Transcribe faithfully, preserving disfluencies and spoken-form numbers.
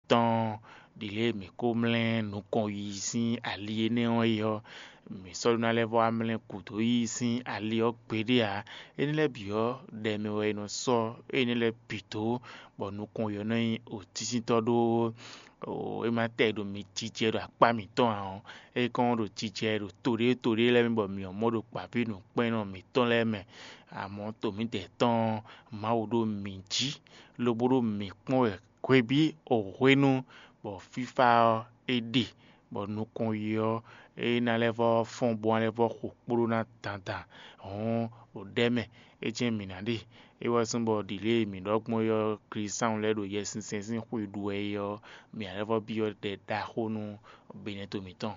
tɔn ɖi lě e mǐ ko mlɛ́ nukɔn yi sín ali énɛ́ ɔ́ é ɔ́, mǐ sɔ́ ɖó ná lɛ́ vɔ́ wá mlɛ́ gǔdo yi sín ali ɔ́ gbeɖé ǎ. Énɛ́ lɛ́ɛ bǐ ɔ́, ɖɛ mɛ wɛ è nɔ sɔ́ énɛ́ lɛ́ɛ bǐ dó, bɔ nukɔn yi ɔ́ nɔ nyí òtísíntɔ́ ɖó. É ma tɛ ɖo mi jijɛ ɖo akpá mǐtɔn ǎ ɔ́, é kɔn ɖo jijɛ ɖo to ɖé to ɖé lɛ́ɛ mɛ bɔ mǐ ɔ́ mɔ ɖo gbǎví nǔkpɛ́nnɔ mǐtɔn lɛ́ɛ mɛ. Amɔ̌ to mǐdɛɛ tɔn ɔ́, Mawu ɖo mǐ jí, lobo ɖo mǐ kpɔ́n wɛ hwebǐ o hwenu, bɔ fífá ɔ́ é ɖe, bɔ nukɔn yi ɔ́ é ná lɛ́ vɔ́ fɔ́n bó ná lɛ́ vɔ́ xo kpóɖó ná dandan. Hɔ̌n, ɖo ɖɛ̌ mɛ, é jɛ́n mǐ ná ɖe. É wɛ zɔ́n bɔ ɖǐ lě e mǐ ɖɔ gbɔn é ɔ́, Klísáun lɛ́ɛ ɖo Yɛsinsɛn sín xwe ɖu wɛ é ɔ́, mǐ ná lɛ́ vɔ́ byɔ́ ɖɛ ɖaxó nú Benɛto mǐtɔn.